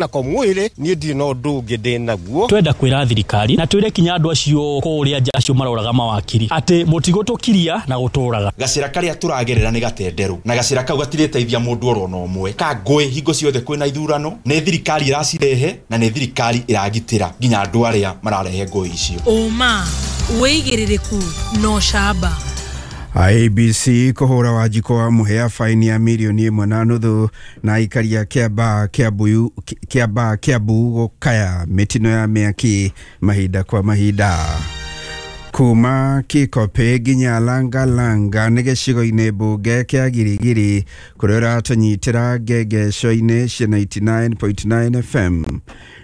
Nako mwĩrĩ niĩ ndirĩ na ũndũ ũngĩ ndĩ naguo. Twenda kwĩra thirikari na twĩre kinya andũ acio kũrĩa nja acio maroraga mawakiri atĩ mũtigũtũkiria na gũtũraga. Gacĩra karĩa tũragerera nĩ gatenderũ na gacĩra kau gatirĩteithia mũndũ oro na ũmwe. Ka ngũĩ hingo ciothe kwĩna ithurano, nĩ thirikari ĩracirehe na nĩ thirikari ĩragitĩra nginya andũ arĩa mararehe ngũĩ icio. Ũma, wĩigĩrĩrĩku na ũcamba. IEBC kũhũra Wanjikũ wa Mũhĩa faini ya mirioni 1.5 na aikari a Kĩambaa Kĩambaa Kĩambu gũkaya mĩtino ya mĩaki mahinda kwa mahinda. Kuma Kikopĩ nginya Langalanga nĩ gĩcigo-inĩ mbunge kĩa Girigiri kũrĩa ũratũnyitĩra ngengeco-inĩ cia 99.9 FM.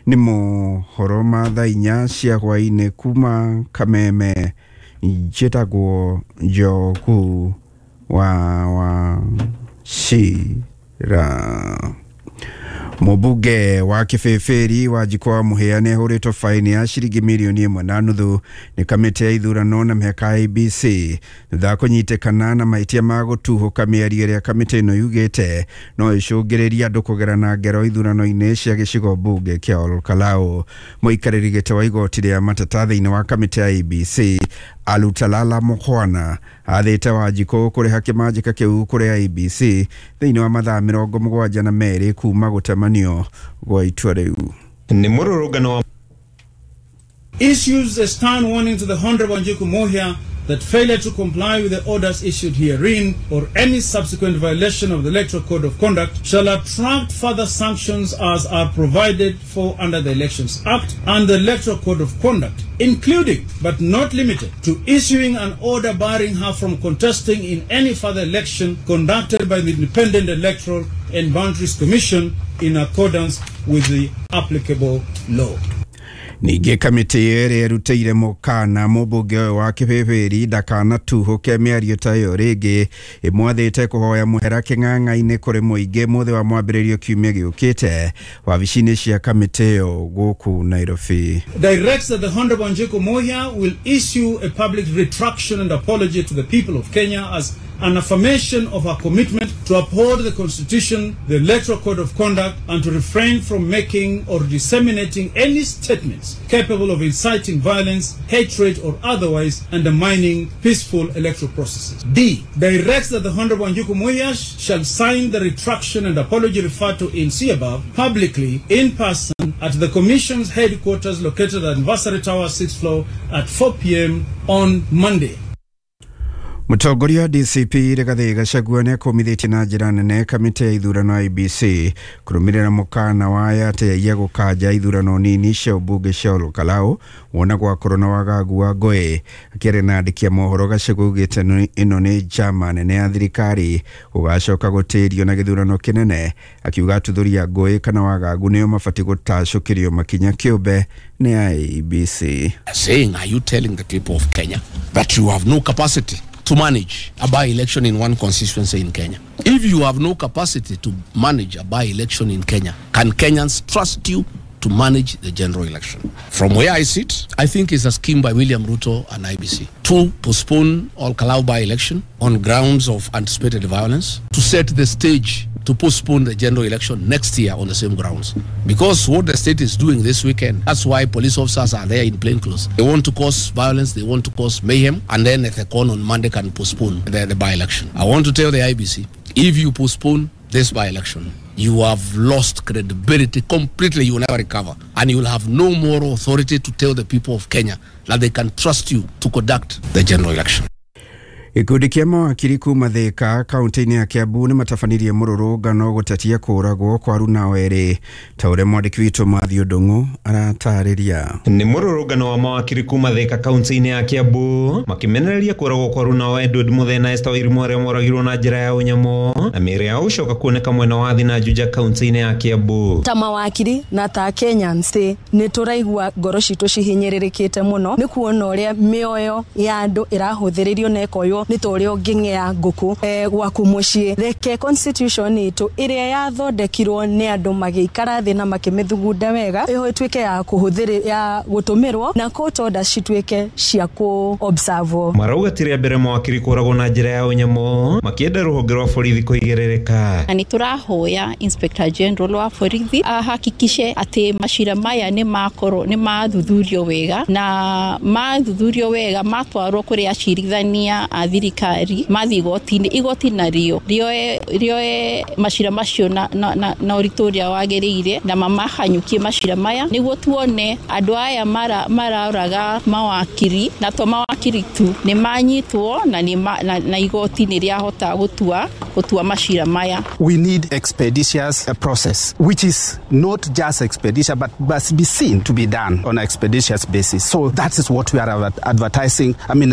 Nĩ mohoro ma thaa 4 cia hwaĩ-inĩ kuma Kameme. Njĩtagwo Njogu wa Wachira. Mũmbunge wa Kĩbĩbĩri Wanjikũ wa Mũhĩa nĩ ahũrĩtwo faini ya ciringi mirioni 1.5 nĩ kamĩtĩ ya ithurano na mĩhaka IEBC thutha wa kũnyitĩkana na mahĩtia ma gũtuhũka mĩario ĩrĩa kamĩtĩ ĩno yugĩte no ĩcũngĩrĩrie andũ kũgerana ngero ithurano-inĩ cia gĩcigo mbunge kĩa Olkalau. Mũikarĩri gĩtĩ wa igoti rĩa mateta thĩinĩ wa kamĩtĩ ya IEBC Alutalala Mukhwana athĩte Wanjikũ kũrĩha kĩmanjĩka kĩu kũrĩ IEBC thĩinĩ wa mathaa 72 kuma gũtemanio gwa itua rĩu. Nĩ mũrũrũngano wa Issues a stern warning to the Honorable Wanjiku Muhia that failure to comply with the orders issued herein or any subsequent violation of the Electoral Code of Conduct shall attract further sanctions as are provided for under the Elections Act and the Electoral Code of Conduct, including but not limited to issuing an order barring her from contesting in any further election conducted by the Independent Electoral and Boundaries Commission in accordance with the applicable law. Ningĩ kamĩtĩ ĩrĩa ĩrutĩire mũkana mũmbunge ũyũ wa Kĩbĩbĩri ndakanatuhũke mĩario ta ĩyo rĩngĩ ĩmwathĩte kũhoya mũhera kĩng'ang'a-inĩ kũrĩ mũingĩ mũthĩ wa mwambĩrĩrio kiumia gĩũkĩte wabici-inĩ cia kamĩtĩ ĩyo gũkũ Nairobi. Directs that the Honorable Wanjiku Muhia will issue a public retraction and apology to the people of Kenya as an affirmation of her commitment to uphold the Constitution, the Electoral Code of Conduct, and to refrain from making or disseminating any statements capable of inciting violence, hatred, or otherwise undermining peaceful electoral processes. D. Directs that the Honorable Wanjiku Muhia shall sign the retraction and apology referred to in C above publicly in person at the Commission's headquarters located at Anniversary Tower 6th floor at 4 p.m. on Monday. Mũtongoria wa DCP Rigathĩ Gachagua nĩ akũmithĩtie na njĩra nene kamĩtĩ ya ithurano IEBC kũrũmĩrĩra mũkana wa atĩ ya gũkanja ithurano nini cia ũmbunge cia Olkalau wona gwakorwo na wagagu wa ngũĩ. Akĩaria na andĩki a mohoro Gachagua augĩte ĩno nĩ njama nene ya thirikari gũgacoka gũtĩrio na gĩthurano kĩnene, akiuga atuthũri a ngũĩ kana wagagu nĩo mabatiĩ gũtacũkĩrio makinya kĩũmbe nĩ IEBC. Saying, are you telling the people of Kenya that you have no capacity to manage a by-election in one constituency in Kenya? If you have no capacity to manage a by-election in Kenya, can Kenyans trust you to manage the general election? From where I sit, I think it's a scheme by William Ruto and IBC to postpone Olkalau by-election on grounds of anticipated violence, to set the stage to postpone the general election next year on the same grounds. Because what the state is doing this weekend, that's why police officers are there in plain clothes. They want to cause violence, they want to cause mayhem, and then at the con on Monday can postpone the by-election. I want to tell the IBC, if you postpone this by-election, you have lost credibility completely. You will never recover. And you will have no moral authority to tell the people of Kenya that they can trust you to conduct the general election. Gĩkundi kĩa mawakiri kuma Thika kaunti-inĩ ya Kiambu nĩ matabanirie mũrũrũngano gũtetia kũragwo kwa aruna erĩ ta ũrĩa mwandĩki witũ Matthew Ndung'u aratarĩria. Nĩ mũrũrũngano wa mawakiri kuma Thika kaunti-inĩ ya Kiambu makĩmenereria kũragwo kwa aruna Edward Muthee na Esther Wairimu arĩa moragirwo na njĩra ya ũnyamũ na mĩĩrĩ yao gũcoka kuoneka mwena wa Thina Juja kaunti-inĩ ya Kiambu. Ta mawakiri na ta Kenyans nĩ tũraigua ngoro citũ cihinyĩrĩrĩkĩte mũno nĩ kuona ũrĩa mĩoyo ya andũ ĩrahũthĩrĩrio na ĩkoywo Nĩ ta ũrĩa ũngĩng'ea ngũkũ gwaku mũciĩ. Reke constitution itũ ĩrĩa yathondekirwo nĩ andũ magĩikara thĩ na makĩmĩthugunda wega ĩho ĩtuĩke ya kũhũthĩrĩ ya gũtũmĩrwo na court orders cituĩke cia kũ observe. Marauga ti rĩa mbere mawakiri kũragwo na njĩra ya ũnyamũ, makĩenda rũhonge rwa borithi kũigĩrĩrĩka. Na nĩ tũrahoya Inspector General wa borithi ahakikishe atĩ macira maya nĩ makorwo nĩ mathuthurio wega, na mathuthurio wega matwarwo kũrĩ acirithania a thirikari mathiĩ igoti-inĩ, igoti narĩo rĩoe macira macio na ũritũ ũrĩa wagĩrĩire na mamahanyũkie macira maya nĩguo tuone andũ aya maraũraga mawakiri, na to mawakiri tu nĩ manyitwo na igoti nĩ rĩahota gũtua macira maya. We need expeditious process, which is not just expeditious but must be seen to be done on an expeditious basis. So that is what we are advertising, I mean,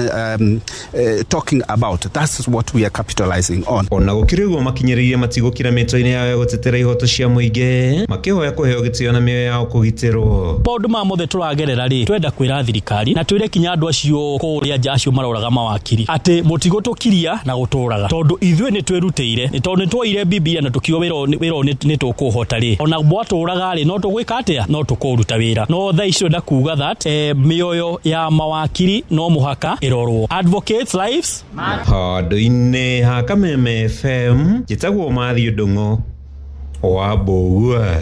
talking about. That is what we are capitalizing on. Ona gũkĩrĩ ũguo makinyĩrĩirie matigũkira mĩtwe-inĩ yao ya gũtetera ihoto cia mũingĩ, makĩhoya kũheo gĩtĩo na mĩoyo yao kũgitĩrwo. Maũndũ maya mothe tũragerera rĩ, twenda kwĩra thirikari na twĩre kinya andũ acio kũrĩa nja acio maroraga mawakiri atĩ mũtigũtũkiria na gũtũraga, tondũ ithuĩ nĩ twĩrutĩire, nĩ tondũ nĩ twoire Bibilia na tũkiuga wĩra nĩ tũkũhota rĩ, ona mwatũraga rĩ no tũgwĩka atĩa, no tũkũruta wĩra. No thaa ici twenda kuga that mĩoyo ya mawakiri no mũhaka ĩrorwo. Advocates lives handũ-inĩ ha Kameme FM, njĩtagwo Matthew Ndung'u wa Mbũgua.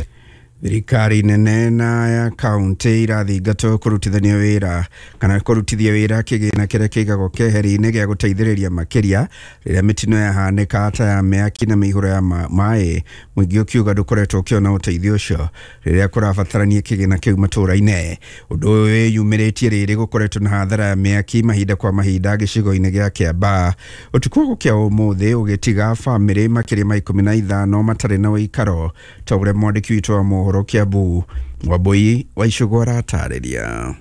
Thirikari nene na ya kaunti irathingatwo kũrutithania wĩra kana kũrutithia wĩra kĩgĩna kĩrĩa kĩigagwo keheri-inĩ gĩa gũteithĩrĩria makĩria rĩrĩa mĩtino yahanĩka ta ya mĩaki na mĩihũro ya maĩ. Mũingĩ ũkiuga ndũkoretwo ũkĩona ũteithio ũcio rĩrĩa kũrabatarania kĩgĩna kĩu matũũra-inĩ. Ũndũ ũyũ wĩyumĩrĩtie rĩrĩ gũkoretwo na hathara ya mĩaki mahinda kwa mahinda gĩcigo-inĩ gĩa Kĩambaa. Ũtukũ wa gũkĩa ũmũthĩ ũgĩtiga bamĩrĩ makĩria ma 15 matarĩ na ũikaro ta ũrĩa mwandĩki witũ wa mohoro Kiambu Wambui wa Icũgũ aratarĩria.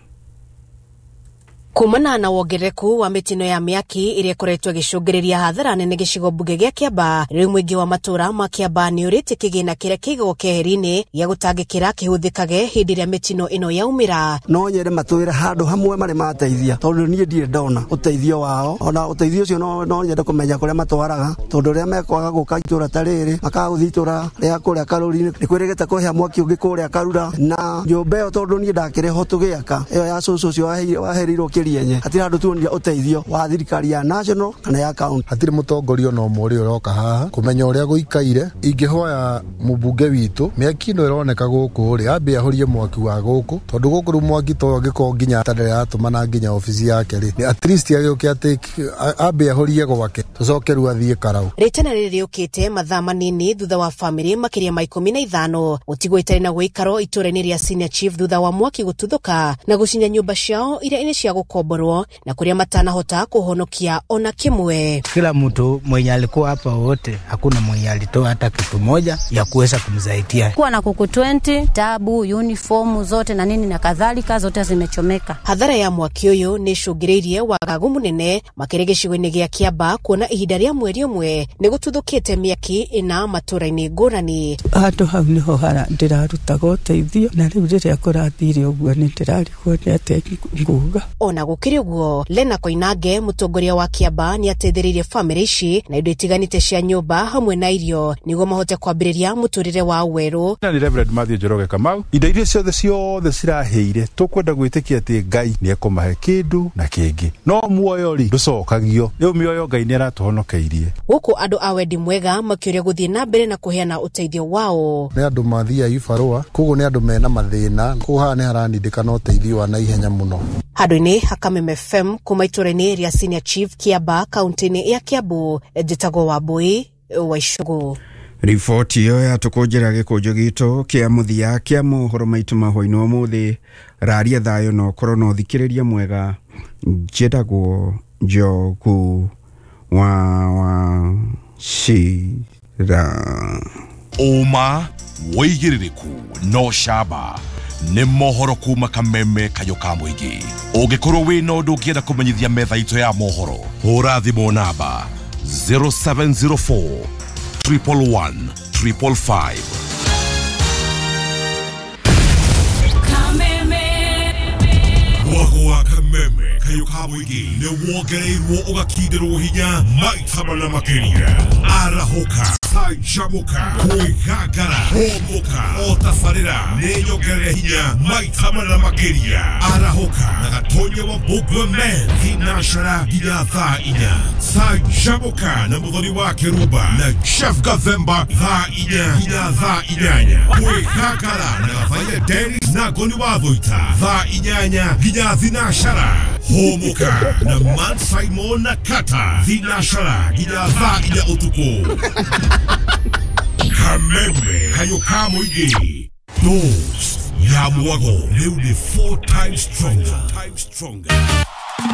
Kumana na wongerereku wa mĩtino ya mĩaki ĩrĩa ĩkoretwo ĩgĩcũngĩrĩria hathara nene gĩcigo mbunge gĩa Kĩambaa, rĩu mũingĩ wa matũũra ma Kĩambaa nĩ ũrĩtie kĩgĩna kĩrĩa kĩigagwo keheri-inĩ gĩa gũtangĩkĩra kĩhũthĩkage hĩndĩ ĩrĩa mĩtino ĩno yaumĩra. No nyende matwĩre handũ hamwe marĩ mateithia, tondũ niĩ ndirĩ ndona ũteithio wao, ona ũteithio ũcio no nyende kũmenya kũrĩa matwaraga, tondũ rĩrĩa mekwaga gũka itũũra ta rĩrĩ makaga gũthiĩ itũũra rĩa kũrĩa Karũri-inĩ, nĩ kwĩrĩgĩte kũhĩa mwaki ũngĩ kũrĩa Karura na nyũmba ĩyo, tondũ niĩ ndakĩrĩ ho tũgĩaka ĩyo ya cũcũ ũcio waherirwo kĩrienye, hatirĩ handũ tuonire ũteithio wa thirikari ya national kana ya county. Hatirĩ mũtongoria ona ũmwe ũrĩa ũroka haha kũmenya ũrĩa gũikaire. Ingĩhoya mũmbunge witũ, mĩaki ĩno ĩroneka gũkũ rĩ, ambe ahorie mwaki wa gũkũ, tondũ gũkũ rĩu mwaki to angĩkorwo nginya aratũmana nginya obici yake rĩ, nĩ at least agĩũke atĩ ambe ahorie gwake, tũcoke rĩu athiĩ Karau. Rĩtana rĩrĩ rĩũkĩte mathaa manini thutha wa bamĩrĩ makĩria ma 15 gũtigwo itarĩ na gũikaro itũũra-inĩ rĩa Senior Chief thutha wa mwaki gũtuthũka na gũcinya nyũmba ciao iria nĩ cia gũkomborwo na kũrĩa matanahota kũhonokia ona kĩmwe. Kila mtu mwenye alikuwa hapa wote, hakuna mwenye alitoa hata kitu moja ya kuweza kumsaidia. Kuwa na kuku 20, tabu, uniformu zote na nini na kadhalika zote zimechomeka. Hathara ya mwaki ũyũ nĩ ĩcũngĩrĩirie wagagu mũnene makĩria gĩcigo-inĩ gĩa Kĩambaa, kuona ihinda rĩa mweri ũmwe nĩ gũtuthũkĩte mĩaki ĩna matũũra-inĩ ngũrani. Handũ hau nĩho ndĩrarutaga ũteithio, na rĩu rĩrĩa kũrathire ũguo nĩ ndĩrarigwo nĩ atĩa nguga. Ona gũkĩrĩ ũguo, Lena Koinange mũtongoria wa Kĩambaa nĩ ateithĩrĩirie bamĩrĩ ici na indo itiganĩte cia nyũmba hamwe na irio nĩguo mahote kwambĩrĩria mũtũrĩre wao werũ. Na nĩ Reverend Matthew Njoroge Kamau, indo iria ciothe cirahĩire tũkwenda gwĩtĩkia atĩ Ngai nĩ ekũmahe kĩndũ na kĩngĩ, no muoyo rĩ ndũcokagio. Rĩu mĩoyo Ngai nĩ aratũhonokeirie. Gũkũ andũ a wendi mwega makĩũria gũthiĩ na mbere na kũheana ũteithio wao. Nĩ andũ mathiaga ibarũa, koguo nĩ andũ mena mathĩna, koguo haha nĩ haranindĩkana ũteithio wa naihenya mũno. Handũ-inĩ ha Kameme FM kuma itũũra-inĩ rĩa Senior Chief Kĩambaa kaunti-inĩ ya Kiambu, njĩtagwo Wambui wa Icũgũ. Riboti ĩyo yatũkũnjĩra gĩkũnjo gitũ kĩa mũthia kĩa mohoro maitũ ma hwaĩ-inĩ wa ũmũthĩ. Raria thayũ na ũkorwo na ũthikĩrĩria mwega. Njĩtagwo Njogu wa Wachira. Ũma wĩigĩrĩrĩku no camba nĩ mohoro kuma Kameme kayũ ka mũingĩ. Ũngĩkorwo wĩna ũndũ ũngĩenda kũmenyithia metha itũ ya mohoro, hũra thimũ namba 0704 111 555. Kameme. Mwago wa Kameme kayũ ka ka mũingĩ nĩ wongereirwo ũgakindĩrwo hinya maita mana makĩria. Arahũka, canjamũka, kwĩgangara, hũmũka, o tabarĩra nĩ nyongerere hinya maita mana makĩria. Arahũka na Gatonya wa Mbũngwe Men thinashara nginya thaa 4. Canjamũka na Mũthoni wa Kĩrumba na Chef Gathemba thaa 4 nginya thaa 8. Kwĩgangara na Gathaiya Dennis na Ngoni wa Thũita thaa 8 nginya thinashara. Hũmũka na Man Simon na Kata thinashara nginya thaa 4 ũtukũ. Kameme kayo ka mũingĩ. Dose ya mwago rĩu nĩ 4 times stronger.